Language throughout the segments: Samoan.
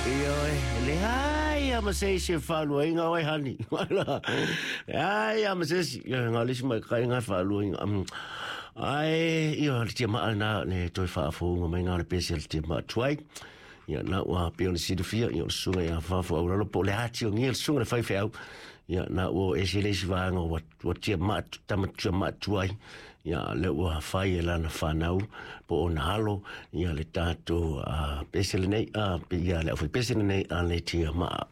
Ioe, leai lava ma se isi e faaluaina oe, honey. Leai lava ma se isi. Ioe, na o le isi maitaiga e faaluaina. Ae, ioe, o le tiamaa lena, le toe faafouga mai na o le pese a le tiamaa tuai. Ia, na ua pei ona silafia, ia, o le susuga ia Fafo Auralo, po o le ati o gia le susuga le faifeau. Ia, na ua ese le isi vaega ua, ua tiamaa, tama tiamaa tuai. Ia, lea ua fai e lana whanau, po o na alo, ia le tātou pese lenei, ia le au pese lenei a le tiamaa.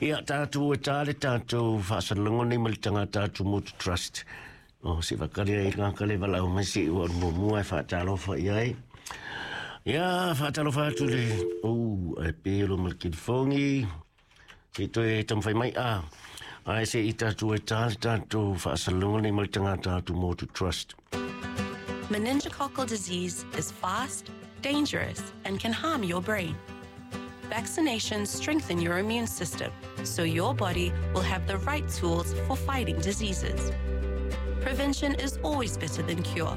Ia, tātou e tā le tātou whaasalongo nei ma le tangata Atumotu Trust. O, se whakari ai ngā kale walau mai se ua mua e whaatalofa i ai. Ia, whaatalofa atu le, ai pelo ma le kilifongi. Se toe tamawhai mai a. Ai se i tātou e tā le tātou whaasalongo nei ma le tangata Atumotu Trust. Meningococcal disease is fast, dangerous, and can harm your brain. Vaccinations strengthen your immune system so your body will have the right tools for fighting diseases. Prevention is always better than cure.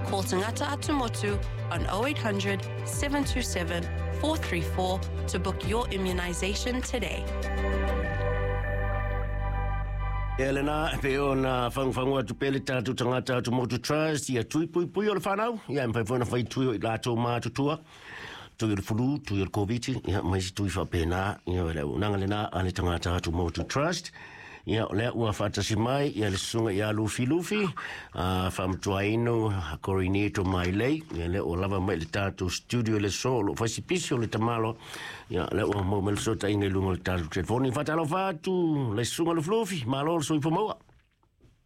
Call Tangata Atumotu on 0800 727 434 to book your immunization today. E lena, pe o na whangwhangu atu pele tātou tangata Atumotu Trust, ia tui pui pui o le whanau, ia mwhai whana whai tui o i lātou mātutua, tui o le fulu, tui o le COVID, ia mai si tui whapena, ia le unanga lena a le tangata Atumotu Trust, ia o lea ua whaatasi mai, ia le susunga ia Lufi Lufi, whamtuaino, Corinito Mailei, ia lea ua lava mai le tātou studio le so, lo whaisi pisi o le tamalo, ia lea ua mau mele sota inga i lunga o le tātou telefoni, whatalo whatu, le susunga Lufi Lufi, malo le soifo maua.